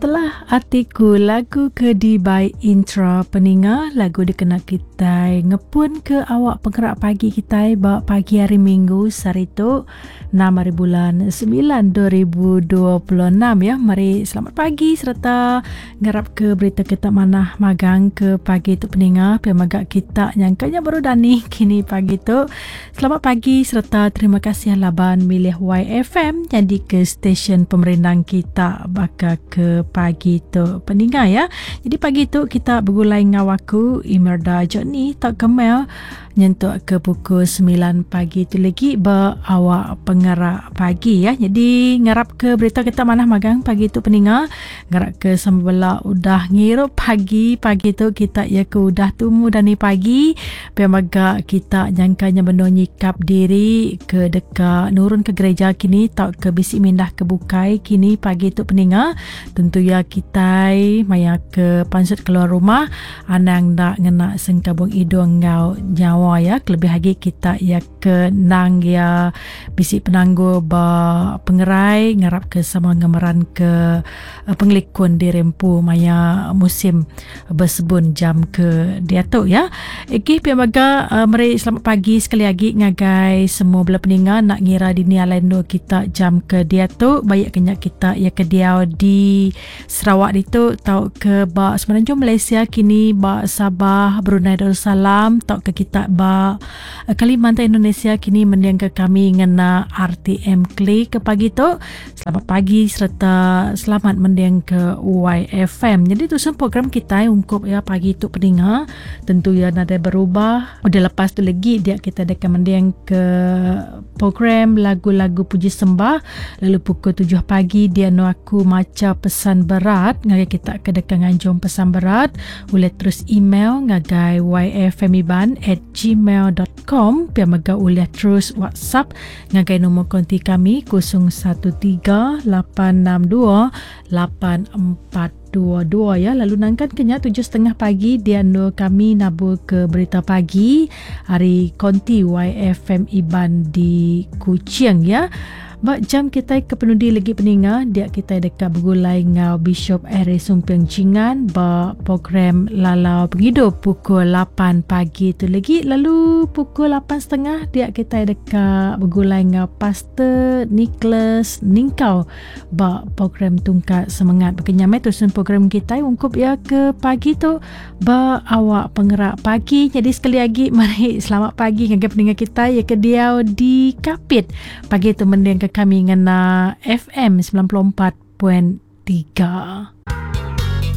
Setelah Atiku lagu ke dibai intra peninga lagu dikena kitai ngepun ke awak pengerak pagi kitai ba pagi hari minggu sehari tu 6 hari bulan 9 2026 ya. Mari selamat pagi sereta ngarap ke berita kita manah magang ke pagi tu peninga pia mega kita nyangka nya baru dani kini pagi tu. Selamat pagi sereta terima kasih laban milih YFM nyadi ke stesen pemerindang kita baka ke pagi tu peninga ya. Jadi pagi tu kita begulai enggau aku Imerda Johnny tauka Mel nyentuk ke pukul 9 pagi tu lagi ba awak pengerak pagi ya. Jadi ngarap ke berita kita manah magang pagi tu peninga. Ngarap ke sama bela udah ngirup pagi pagi tu kita ya ke udah tumu dani pagi. Pia mega kita nyangka nya benung nyikap diri ke deka nurun ke gereja kini tauka bisi mindah ke bukai kini pagi tu peninga. Tentu iya kitai maya ke pansut keluar rumah anang enda ngena sengkabung idung enggau nyawa iya kelebih agi kita iya ke endang iya bisi penanggul ba pengerai ngarap ke sama ngemeran ke pengelikun diri empu maya musim besebun jam ke diatu ya. Okey pia mega uh, meri selamat pagi sekali agi ngagai semua bala peninga nak ngira dini alai endur kita jam ke diatu baik ke nya kita ya ke diau di Sarawak ditu tauka ba Semenanjung Malaysia kini ba Sabah Brunei Darussalam tauka kita ba eh, Kalimantan Indonesia kini mendingka kami ngena RTM Klik ke pagi tu. Selamat pagi sereta selamat mending ke YFM. Jadi tusun program kitai ungkup ya pagi tu peninga tentu ya nadai berubah. Udah lepas tu legi dia kita deka mending ke program lagu-lagu puji sembah lalu pukul 7 pagi dia nu aku macha pesan berat ngagai kita ke deka nganjung pesan berat ulih terus email ngagai yfmiban@gmail.com pia mega ulih terus WhatsApp Ngagai nombor konti kami 013 862 8422 ya. Lalu nangkan ke nya 7.30 pagi dia endur kami nabur ke berita pagi hari konti YFM Iban di Kuching ya. Ba jam kitai ke penudi legi peninga dia kitai deka begulai enggau Bishop Harry Sumping Jingan ba program Lalau Pengidup pukul 8 pagi tu legi lalu pukul 8.30 dia kitai deka begulai enggau Pastor Nicholas Ningkau ba program Tungkat Semengat. Baka nya meh tusun program kitai ungkup iya ke pagi tu ba awak pengerak pagi. Jadi sekali agi meri selamat pagi ngagai peninga kitai iya ke diau di Kapit. Pagi tu mendingka kami ngena FM 94.3.